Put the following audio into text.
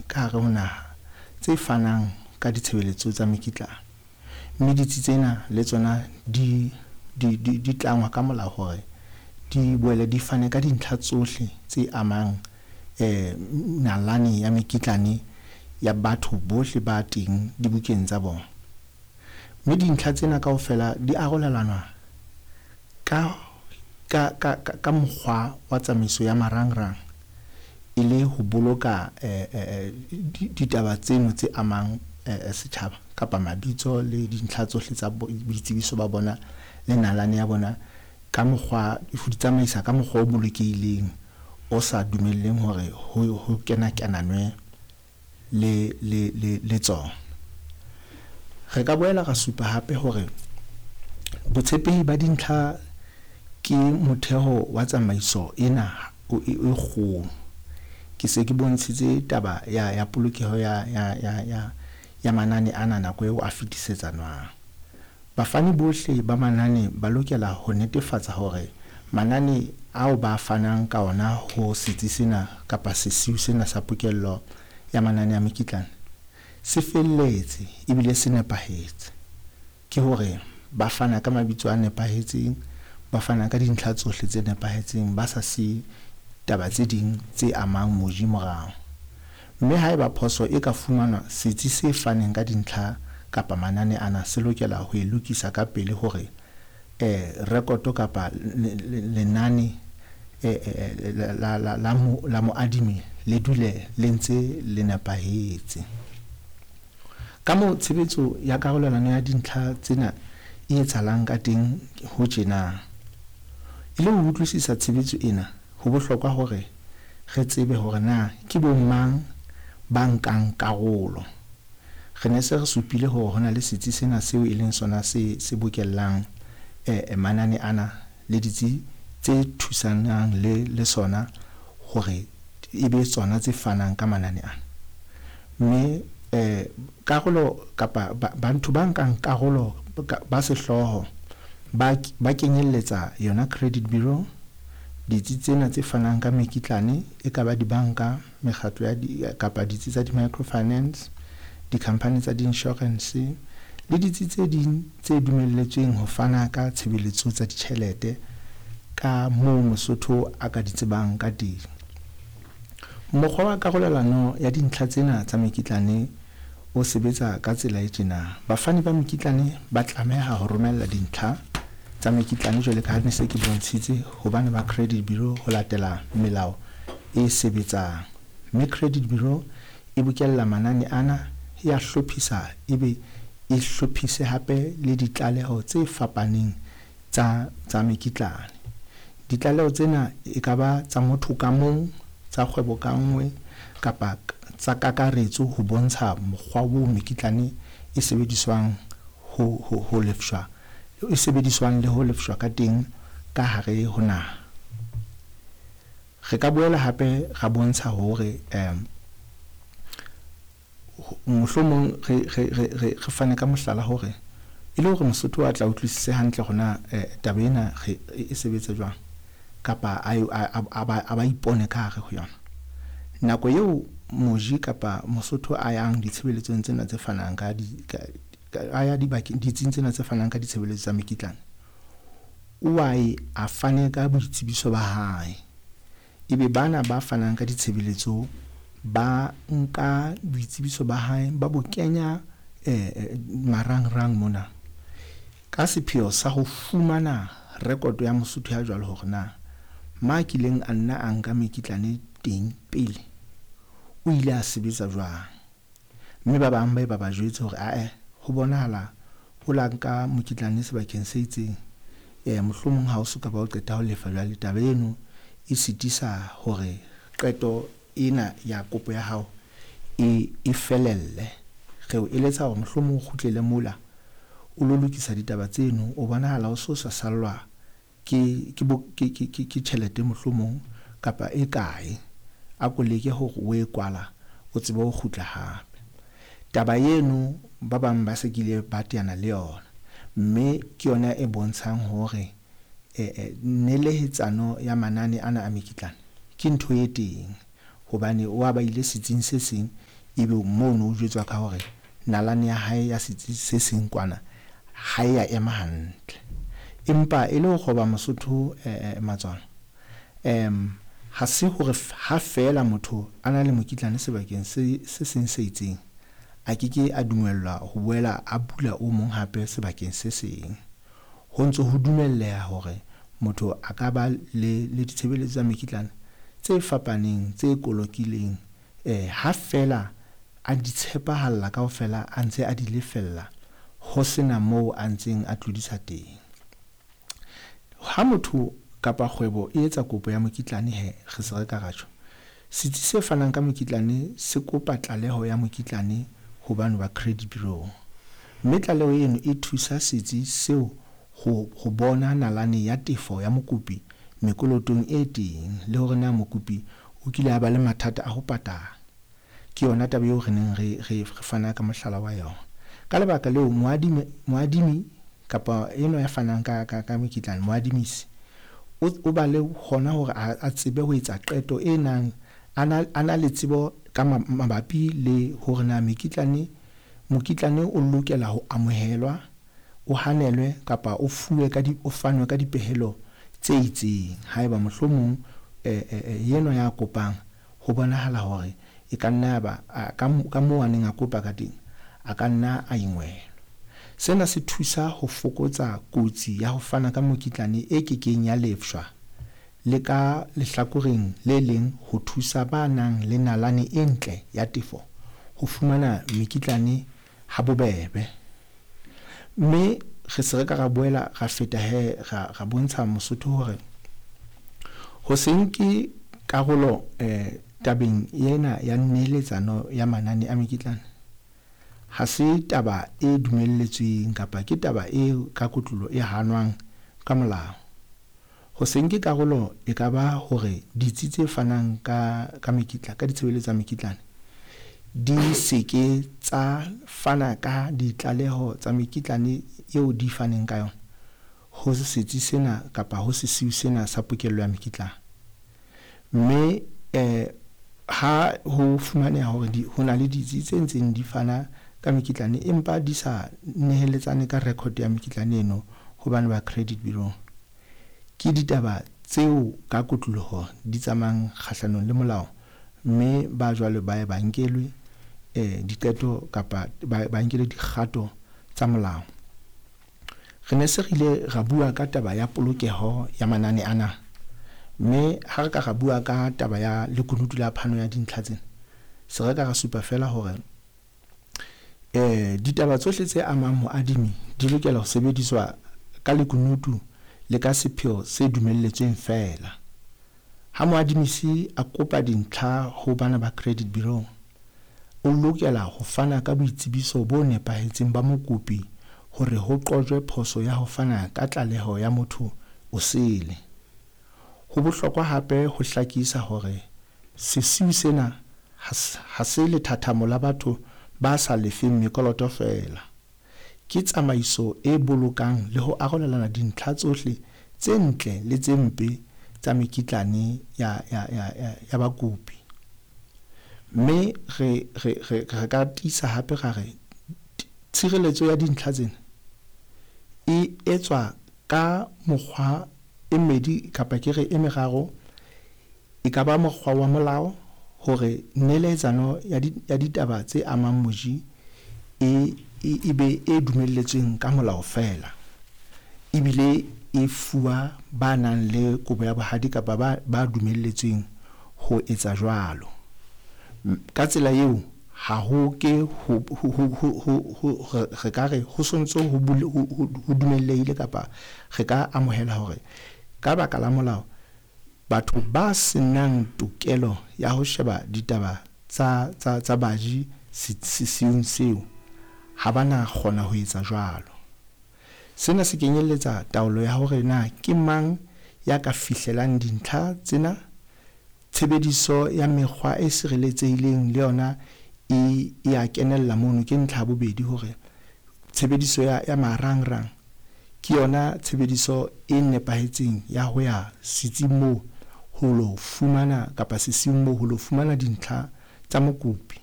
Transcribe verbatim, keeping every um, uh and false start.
ka hare ho naha tse fanang ka ditshebeletso tsa mekitlane, mme ditsi tsena le tsona di di di di tlangwa ka molao hore di boele di fane ka dintlha tsohle tse amang eh nalane ya mekitlane ya batho bohle ba teng dibukeng tsa bona. Mme dintlha tsena kaofela di arolelanwa ka ka ka ka mokgwa wa tsamaiso ya marangrang e le ho boloka eh eh ditaba tseno tse amang eh setjhaba kapa mabitso le dintlha tsohle tsa boitsebiso ba bona le nalane ya bona ka mokgwa ho di tsamaisa ka mokgwa o bolokehileng o sa dumelleng hore ho ho kena kenanwe le le le le tsona. Re ka boela ra supa hape hore botshepehi ba dintlha ke motheo wa tsamaiso ena e kgolo. Ke se ke bontshitse taba ya ya polokeho ya ya ya ya ya manane ana nako eo a fetisetsanwang. Bafani bohle ba manane ba lokela ho netefatsa hore manane ao ba fanang ka ona ho setsi sena kapa sesiu sena sa pokello ya manane a mekitlane se felletse ebile se nepahetse. Ke hore ba fana ka mabitso a nepahetseng, ba fana ka dintlha tsohle tse nepahetseng, ba sa siye taba tse ding tse amang moji morao. Mme haeba phoso e ka fumanwa, setsi se faneng ka dintlha kapa manane ana se lokela ho e lokisa ka pele hore eh rekoto kapa lenane eh la la la la moadimi le dule le ntse le nepahetse. Ka moo tshebetso ya karolelano ya dintlha tsena e etsahalang ka teng ho tjena. E le ho utlwisisa tshebetso ena, ho bohlokwa hore re tsebe hore na ke bomang ba nkang karolo. Re ne se re supile hore ho na le setsi sena seo e leng sona se se bokellang eh manane ana le ditsi tse thusanang le le sona hore e be tsona tse fanang ka manane ana. Mme eh karolo kapa batho ba nkang karolo ba sehlooho ba ba kenyelletsa yona credit bureau, ditsi tsena tse fanang ka mekitlane e ka ba dibanka, mekgatlo ya di kapa ditsi tsa di-microfinance, di-company tsa di-insurance le ditsi tse ding tse dumelletsweng ho fana ka tshebeletso tsa ditjhelete ka moo Mosotho a ka di tsebang ka teng. Mokgwa wa karolelano ya dintlha tsena tsa mekitlane o sebetsa ka tsela e tjena. Bafani ba mekitlane ba tlameha ho romella dintlha tsa mekitlane jwale ka ha ne se ke bontshitse hobane ba credit bureau ho latela melao e sebetsang. Mme credit bureau e bokella manane ana, e a hlophisa ebe e hlophise hape le ditlaleho tse fapaneng tsa tsa mekitlane. Ditlaleho tsena e ka ba tsa motho ka mong, tsa kgwebo ka nngwe kapa tsa kakaretso ho bontsha mokgwa oo mekitlane e sebediswang ho ho ho lefshwa e sebediswang le ho lefshwa ka teng ka hare ho naha. Re ka boela hape ra bontsha hore um mohlomong re re re re re fane ka mohlala hore e le hore Mosotho a tla utlwisise hantle hore na taba ena re e sebetsa jwang kapa a a ba a ba ipone ka hare ho yona. Nako eo moji kapa Mosotho a yang ditshebeletsong tsena tse fanang ka di ka a ya dibakeng ditsing tsena tse fanang ka ditshebeletso tsa mekitlane, o a e a fane ka boitsebiso ba hae. Ebe bana ba fanang ka ditshebeletso ba nka boitsebiso ba hae ba bo kenya eh marangrang mona ka sepheo sa ho fumana rekoto ya Mosotho ya jwalo hore na ma kileng a nna a nka mekitlane teng pele o ile a sebetsa jwang. Mme ba bang ba ba ba jwetse hore ae ho bonahala o la nka mokitlane sebakeng se itseng, eh mohlomong ha o soka ba o qeta ho lefa jwale taba eno e sitisa hore qeto ena ya kopo ya hao e e felelle. Re o eletsa hore mohlomong o kgutlele mola o lo lokisa ditaba tseno, o bonahala o so sa sallwa ke ke ke ke ke tjhelete mohlomong kapa e kae, a ko leke hore o e kwala o tsebe ho kgutla hape. Taba eno ba bang ba se kile ba teana le yona, mme ke yona e bontshang hore eh nelehetsano ya manane ana a mekitlane ke ntho e teng hobane wa ba ile setsing se seng Ebe mono o jwetswa ka hore nalane ya hae ya setsi se seng kwana ha e ya ema hantle. Empa e le ho kgoba Mosotho matswalo, um ha se hore ha feela motho a na le mokitlane sebakeng se se seng se itseng, a ke ke a dumellwa ho boela a bula o mong hape sebakeng se seng. Ho ntso ho dumelleha hore motho a ka ba le le ditshebeletso tsa mekitlane tse fapaneng, tse kolokileng eh ha feela a di tshepahalla kaofela, a ntse a di lefella ho sena moo a ntseng a tlodisa teng. Ha motho kapa kgwebo e etsa kopo ya mokitlane he, re se re ka ra tjho, setsi se fanang ka mokitlane se kopa tlaleho ya mokitlane ho bano ba credit bureau, mme tlaleho eno e thusa setsi seo ho ho bona nalane ya tefo ya mokopi mekolotong e teng, le hore na mokopi o kile a ba le mathata a ho patala. Ke yona taba eo re neng re re fana ka mohlala wa yona. Ka lebaka leo, moadimi moadimi kapa enwa ya fanang ka ka ka mokitlane, moadimisi o o ba le hona hore a tsebe ho etsa qeto e nang a na a na le tsebo ka mabapi le hore na mekitlane mokitlane o lokela ho amohelwa, o hanelwe kapa o fuwe ka di o fanwe ka dipehelo tse itseng. Haeba mohlomong enwa ya kopang ho bonahala hore e ka nna ya ba ka ka moo a neng a kopa ka teng, a ka nna a ingwelwa. Sena se thusa ho fokotsa kotsi ya ho fana ka mokitlane e kekeng ya lefshwa, le ka lehlakoreng le leng ho thusa ba nang le nalane e ntle ya tefo ho fumana mekitlane ha bobebe. Mme re se re ka ra boela ra feta he, ra ra bontsha Mosotho hore ho se nke karolo eh tabeng ena ya neeletsano ya manane a mekitlane ha se taba e dumelletsweng kapa ke taba e ka kotloloho e hanwang ka molao. Ho se nke karolo e ka ba hore ditsi tse fanang ka ka mekitla ka ditshebeletso tsa mekitlane di se ke tsa fana ka ditlaleho tsa mekitlane eo di faneng ka yona ho setsi sena kapa ho sesiu sena sa pokello ya mekitlane. Mme eh ha ho fumaneha hore di ho na le ditsi tse ntseng di fana ka mekitlane empa di sa neheletsane ka record ya mekitlane eno hobane ba credit bureau, ke ditaba tseo ka kotloloho di tsamayang kgahlanong le molao, mme ba jwalo ba ye ba nkelwe eh diqeto kapa ba ba nkelwe dikgato tsa molao. Re ne se re ile ra bua ka taba ya polokeho ya manane ana, mme ha re ka ra bua ka taba ya lekunutu la phano ya dintlha tsena, se re ka ra supa feela hore eh ditaba tsohle tse amang moadimi di lokela ho sebediswa ka lekunutu le ka sepheo se dumelletsweng feela. Ha moadimisi a kopa dintlha ho bana ba credit bureau, o lokela ho fana ka boitsebiso bo nepahetseng ba mokopi hore ho qojwe phoso ya ho fana ka tlaleho ya motho o sele. Ho bohlokwa hape ho hlakisa hore sesiu sena ha se lethathamo la batho ba sa lefeng mekoloto feela. Ke tsamaiso e bolokang le ho arolelana dintlha tsohle tse ntle le tse mpe tsa mekitlane ya ya ya ya bakopi. Mme re re re re ka tiisa hape ra re tshireletso ya dintlha tsena e etswa ka mokgwa e mmedi kapa ke re e meraro. E ka ba mokgwa wa molao hore neletsano ya di ya ditaba tse amang moji e e be e dumelletsweng ka molao feela, ebile e fuwa ba nang le kobo ya bohadi kapa ba ba dumelletsweng ho etsa jwalo. Ka tsela eo ha ho ke ho ho ho ho ho re ka re ho sontso ho ho dumellehile kapa re ka amohela hore ka baka la molao batho ba senang tokelo ya ho sheba ditaba tsa tsa tsa baji sesiung seo ha ba na kgona ho etsa jwalo. Sena se kenyelletsa taolo ya hore na ke mang ya ka fihlelang dintlha tsena, tshebediso ya mekgwa e sireletsehileng le yona e e a kenella mono. Ke ntlha ya bobedi hore tshebediso ya ya marangrang ke yona tshebediso e nepahetseng ya ho ya setsing moo ho lo fumana kapa sesiung moo ho lo fumana dintlha tsa mokopi.